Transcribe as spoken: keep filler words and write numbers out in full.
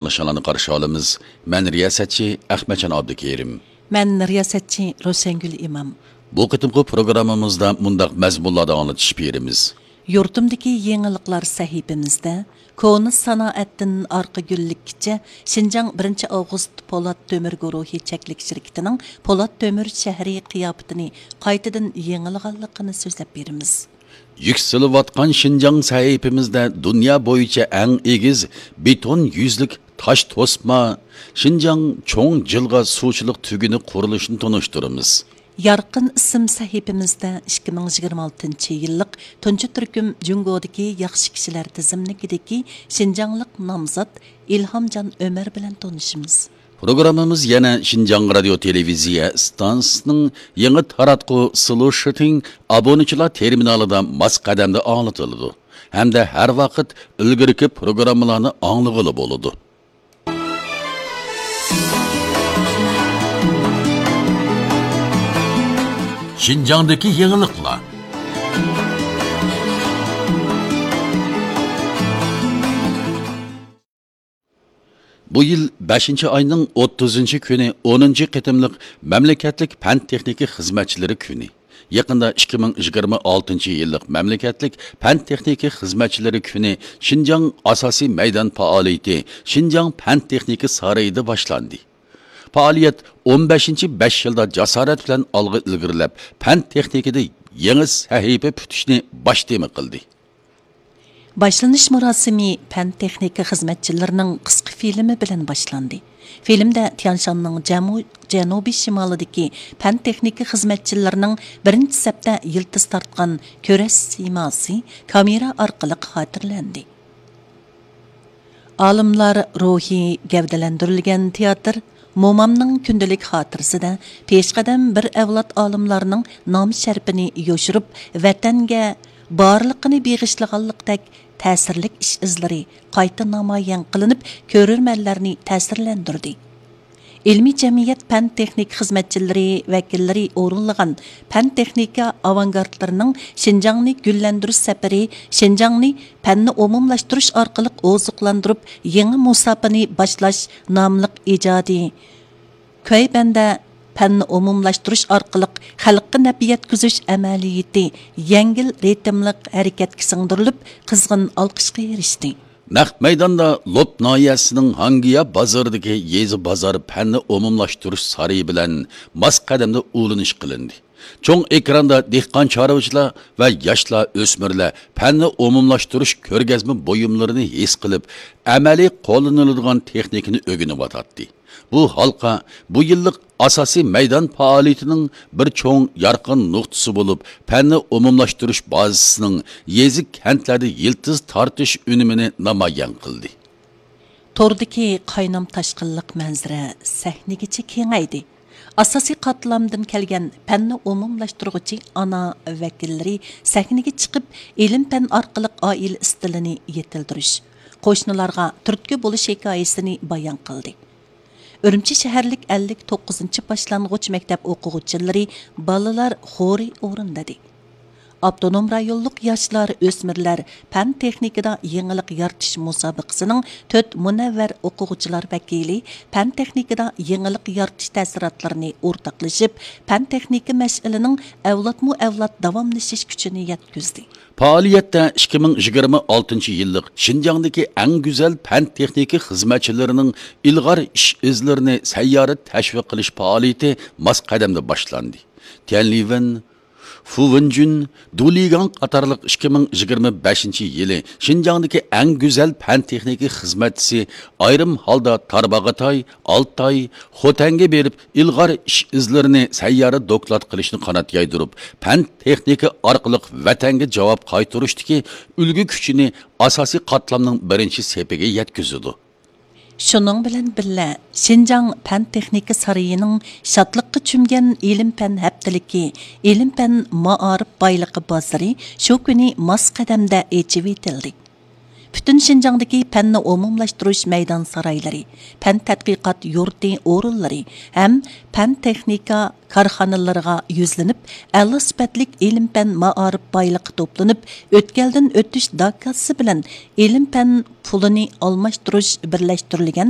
ئاڭلىشىڭلارنى قارشى ئالىمىز. مەن رىياسەتچى ئەخمەتجان ئابدۇكېرىم. مەن رىياسەتچى روشەنگۈل ئىمام. بۇ قېتىمقى پروگراممىمىزدا مۇنداق مەزمۇنلاردا ئاڭلىتىش بېرىمىز. يۇرتۇمدىكى يېڭىلىقلار سەھىپىمىزدە كونا سانائەتتىن ئارقا گۈللۈككىچە شىنجاڭ بىرىنچى ئاۋغۇست پولات تۆمۈر گۇرۇھى چەكلىك شىركىتىنىڭ پولات تۆمۈر شەھىرى قىياپىتىنى قايتىدىن يېڭىلىغانلىقىنى سۆزلەپ بېرىمىز. يۈكسىلىۋاتقان شىنجاڭ سەھىپىمىزدە دۇنيا بويىچە ئەڭ ئېگىز بېتون يۈزلۈك تاش توسما شىنجاڭ چوڭ جىلغا سۇچىلىق تۈگۈنى قۇرۇلۇشىنى تونۇشتۇرىمىز. يارقىن ئىسىم سەھىپىمىزدە ئىككى مىڭ يىگىرمە ئالتىنچى يىللىق تۇنجى تۈركۈم جۇڭگودىكى ياخشى كىشىلەر تىزىملىكىدىكى شىنجاڭلىق نامزات ئىلھامجان ئۆمەر بىلەن تونۇشىمىز. پروگراممىمىز يەنە شىنجاڭ رادىيو تېلېۋىزىيە ئىستانسىسىنىڭ يېڭى تاراتقۇ سلۇشىتىڭ ئابۇنىچىلار تېرمىنالىدا ماس قەدەمدە ئاڭلىتىلىدۇ ھەمدە ھەر ۋاقىت ئىلگىرىكى پروگراممىلارنى ئاڭلىغىلى بولىدۇ. شىنجاڭدىكى يېڭىلىقلار. بۇ يىل بەشىنچى ئاينىڭ ئوتتۇزىنچى كۈنى ئونىنچى قېتىملىق مەملىكەتلىك پەن تېخنىكا خىزمەتچىلىرى كۈنى. يېقىندا ئىككى مىڭ يىگىرمە ئالتىنچى يىللىق مەملىكەتلىك پەن تېخنىكا خىزمەتچىلىرى كۈنى شىنجاڭ ئاساسىي مەيدان پائالىيىتى شىنجاڭ پەن تېخنىكا سارىيىدا باشلاندى. پائالىيەت ئون بەشىنچى بەش يىلدا جاسارەت بىلەن ئالغا ئىلگىرىلەپ، پەن تېخنىكىدا يېڭى سەھىپە پۈتۈشنى باش تېما قىلدى. باشلىنىش مۇراسىمى پەن تېخنىكا خىزمەتچىلىرىنىڭ قىسقا فىلىمى بىلەن باشلاندى. فىلىمدە تيانشاننىڭ جەمۇ-، جەنۇبىي شىمالىدىكى پەن تېخنىكا خىزمەتچىلىرىنىڭ بىرىنچى سەپتە يىلتىز تارتقان كۈرەش سىيماسى كامېرا ئارقىلىق خاتىرىلەندى. ئالىملار روھى گەۋدىلەندۈرۈلگەن تىياتىر مومامنىڭ كۈندىلىك خاتىرىسىدە پېشقەدەم بىر ئەۋلاد ئالىملارنىڭ نام شەرىپىنى يوشۇرۇپ، ۋەتەنگە بارلىقىنى بېغىشلىغانلىقتەك تەسىرلىك ئىش ئىزلىرى قايتا نامايان قىلىنىپ، كۆرۈرمەنلەرنى تەسىرلەندۈردى. ئىلمىي جەمئىيەت پەن تېخنىكا خىزمەتچىلىرى ۋەكىللىرى ئورۇنلىغان پەن تېخنىكا ئاۋانگارتلىرىنىڭ شىنجاڭنى گۈللەندۈرۈش سەپىرى شىنجاڭنى پەننى ئومۇملاشتۇرۇش ئارقىلىق ئوزۇقلاندۇرۇپ، يېڭى مۇساپىنى باشلاش ناملىق ئىجادىي كۈي بەندە پەننى ئومۇملاشتۇرۇش ئارقىلىق خەلققە نەپ يەتكۈزۈش ئەمەلىيىتى يەڭگىل رىتىملىق ھەرىكەتكە سىڭدۈرۈلۈپ، قىزغىن ئالقىشقا ئېرىشتى. نەق مەيداندا لوپ ناھىيەسىنىڭ ھاڭگىيا بازىرىدىكى يېزا بازار پەننى ئومۇملاشتۇرۇش سارىيى بىلەن ماس قەدەمدە ئۇلىنىش قىلىندى. چوڭ ئېكراندا دېھقان چارۋىچىلار ۋە ياشلار، ئۆسمۈرلەر پەننى ئومۇملاشتۇرۇش كۆرگەزمە بۇيۇملىرىنى ھېس قىلىپ، ئەمەلىي قوللىنىلىدىغان تېخنىكىنى ئۆگىنىۋاتاتتى. بۇ ھالقا بۇ يىللىق ئاساسىي مەيدان پائالىيىتىنىڭ بىر چوڭ يارقىن نۇقتىسى بولۇپ، پەننى ئومۇملاشتۇرۇش بازىسىنىڭ يېزا، كەنتلەردە يىلتىز تارتىش ئۈنۈمىنى نامايان قىلدى. توردىكى قاينام تاشقىنلىق مەنزىرە سەھنىگىچە كېڭەيدى. ئاساسىي قاتلامدىن كەلگەن پەننى ئومۇملاشتۇرغۇچى ئانا ۋەكىللىرى سەھنىگە چىقىپ، ئىلىم-پەن ئارقىلىق ئائىلە ئىستىلىنى يېتىلدۈرۈش، قوشنىلارغا تۈرتكە بولۇش ھېكايىسىنى بايان قىلدى. ئۈرۈمچى شەھەرلىك ئەللىك توققۇزىنچى باشلانغۇچ مەكتەپ ئوقۇغۇچىلىرى بالىلار خورى ئورۇندىدى. ئاپتونوم رايونلۇق ياشلار، ئۆسمۈرلەر پەن تېخنىكىدا يېڭىلىق يارىتىش مۇسابىقىسىنىڭ تۆت مۇنەۋۋەر ئوقۇغۇچىلار ۋەكىلى پەن تېخنىكىدا يېڭىلىق يارىتىش تەسىراتلىرىنى ئورتاقلىشىپ، پەن تېخنىكا مەشئىلىنىڭ ئەۋلادمۇ ئەۋلاد داۋاملىشىش كۈچىنى يەتكۈزدى. پائالىيەتتە ئىككى مىڭ يىگىرمە ئالتىنچى يىللىق شىنجاڭدىكى ئەڭ گۈزەل پەن تېخنىكا خىزمەتچىلىرىنىڭ ئىلغار ئىش ئىزلىرىنى سەييارە تەشۋىق قىلىش پائالىيىتى ماس قەدەمدە باشلاندى. تيەنلىۋېن، فۇۋېنجۈن، دۇلىگاڭ قاتارلىق ئىككى مىڭ يىگىرمە بەشىنچى يىلى شىنجاڭدىكى ئەڭ گۈزەل پەن تېخنىكا خىزمەتچىسى ئايرىم ھالدا تارباغاتاي، ئالتاي، خوتەنگە بېرىپ، ئىلغار ئىش ئىزلىرىنى سەييارە دوكلات قىلىشنى قانات يايدۇرۇپ، پەن تېخنىكا ئارقىلىق ۋەتەنگە جاۋاب قايتۇرۇشتىكى ئۈلگە كۈچىنى ئاساسىي قاتلامنىڭ بىرىنچى سېپىگە يەتكۈزىدۇ. شۇنىڭ بىلەن بىللە، شىنجاڭ پەن تېخنىكا سارىيىنىڭ شادلىققا چۆمگەن ئىلىم-پەن ھەپتىلىكى، ئىلىم-پەن مائارىپ بايلىقى بازىرى شۇ كۈنى ماس قەدەمدە ئېچىۋېتىلدى. پۈتۈن شىنجاڭدىكى پەننى ئومۇملاشتۇرۇش مەيدان سارايلىرى، پەن تەتقىقات يۇرتى ئورۇنلىرى ھەم پەن تېخنىكا كارخانىلىرىغا يۈزلىنىپ، ئەلا سۈپەتلىك ئىلىم پەن مائارىپ بايلىقى توپلىنىپ، ئۆتكەلدىن ئۆتۈش داكاسى بىلەن ئىلىم پەن پۇلىنى ئالماشتۇرۇش بىرلەشتۈرۈلگەن